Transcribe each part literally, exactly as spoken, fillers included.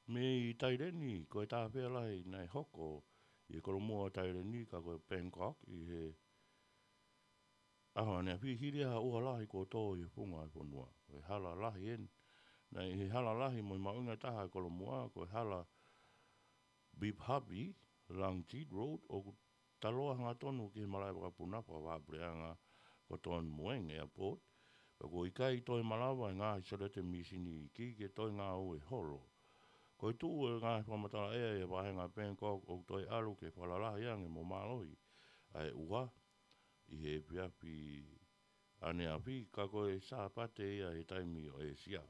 Mei Taileni, ko e tāfea lahi naʻe hoko ʻi he kolomua ʻo Taileni, ka ko e Bangkok, ʻi he ʻaho ʻaneafi, hili ha ʻuha lahi kuo tō ʻi he funga ʻo e fonua. Ko e hala lahi eni. Naʻe ʻi he hala lahi mo e mahuʻinga taha ʻo e kolomua, ko e hala Bibhabi Langjeet Road, ʻoku taloa hangatonu ki he malaʻe vakapuna fakavahaʻapuleʻanga ko Don Mueang Airport, pea kuo ʻikai toe malava e ngaahi sēliote mīsini iiki ke toe ngāue holo. Ko e tuʻu e ngaahi fakamatala ʻea ʻi he vahenga Bangkok ʻoku toe ʻalu ke fakalalahi ange mo mālohi ʻa e ʻuha ʻi he efiafi ʻaneafi, ka ko e Sāpate ia he taimi ʻo ʻĒsia.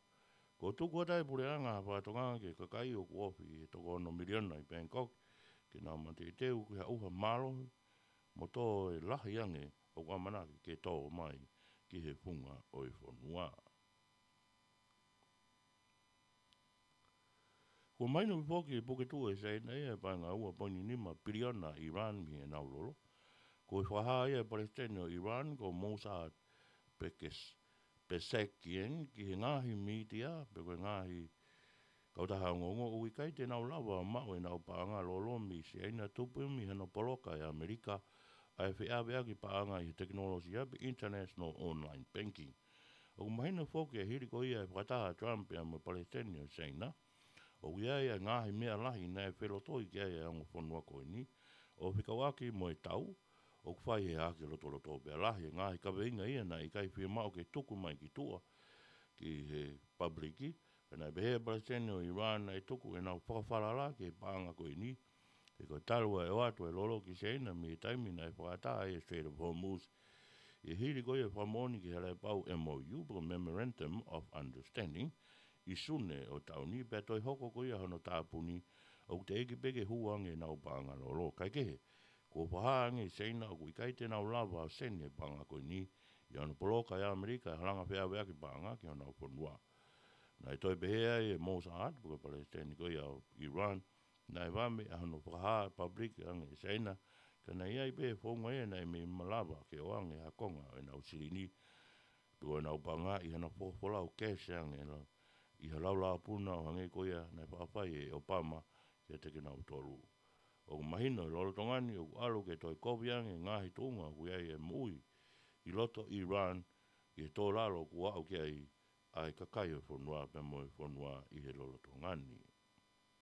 Kuo tuku atu ʻe he puleʻanga ha fakatokanga ki he kakai ʻoku ofi ʻe toko ono miliona ʻi Bangkok ke nau mateuteu ki ha ʻuha mālohi mo tō e lahi ange ʻoku ʻamanaki ke tō mai ki he funga ʻo e fonua. Kuo mahino foki ʻe he puke tuʻu ʻe Saina ia e paʻanga ua poini nima piliona ʻa ʻIran mei heʻenau lolo. Ko e fakahā ia ʻe he palesiteni ʻo ʻIran ko Mohammad Pekes-, Pezeshkian ki he ngaahi mītia pe ko e ngaahi kautaha ongoongo ʻoku ʻikai te nau lava ʻo maʻu ʻenau paʻanga lolo mei Saina, tupu mei hano poloka ʻe ʻAmelika ʻa e feʻaveʻaki paʻanga ʻi he tekinolosia pe international online banking. ʻOku mahino foki ʻe hili ko ia e fakataha ʻa Trump pea mo e palesiteni ʻo Saina, ʻoku ʻi ai e ngaahi meʻa lahi naʻe felotoi ki ai e ongo fonua ko eni, ʻo fekauʻaki mo e tau ʻoku fai he hahake lotoloto, pea lahi e ngaahi kaveinga ia naʻe ʻikai fiemaʻu ke tuku mai ki tuʻa ki he pāpuliki. Pea naʻe pehē ʻe he palesiteni ʻo ʻIran naʻe tuku ʻenau fakafalala ki he paʻanga ko eni, he ko e talu e ʻoatu e lolo ki Saina mei he taimi naʻe fakaʻatā ai e Strait of Hormuz, ʻi he hili ko ia e fakamoʻoni ki he Halaepau M O U, pe ko e Memorandum of Understanding, ʻi Sune ʻo e taʻu ni, pea toe hoko ko ia hono tāpuni, ʻoku teʻeki pē ke hū ange ʻenau paʻanga lolo. Kaekehe, kuo fakahā ange ʻe Saina ʻoku ʻikai te nau lava ʻo seni e paʻanga ko eni ʻi hano poloka ʻe ʻAmelika e halanga feʻaveʻaki paʻanga ki honau fonua. Naʻe toe pehē ai ʻe Mohammad, pe ko e palesiteni ko ia ʻo ʻIran, naʻe vave ʻa hono fakahā pāpuliki ange ʻe Saina, ka naʻe ʻi ai pē founga ia naʻe mei malava ke ʻoange ha konga ʻo ʻenau silini pe ko ʻenau paʻanga ʻi hano fakafolau kesi ange ʻi ha laulauʻapuna ʻo hangē ko ia naʻe faʻa fai ʻe ʻOpama kiate kinautolu. ʻOku mahino ʻi he lolotonga ni ʻoku ʻalu ke toe kovi ange e ngaahi tuʻunga ʻoku ʻi ai e moʻui ʻi loto ʻIran ʻi he tōlalo kuo aʻu ki ai ʻa e kakai ʻo e fonua pea mo e fonua ʻi he lolotonga ni.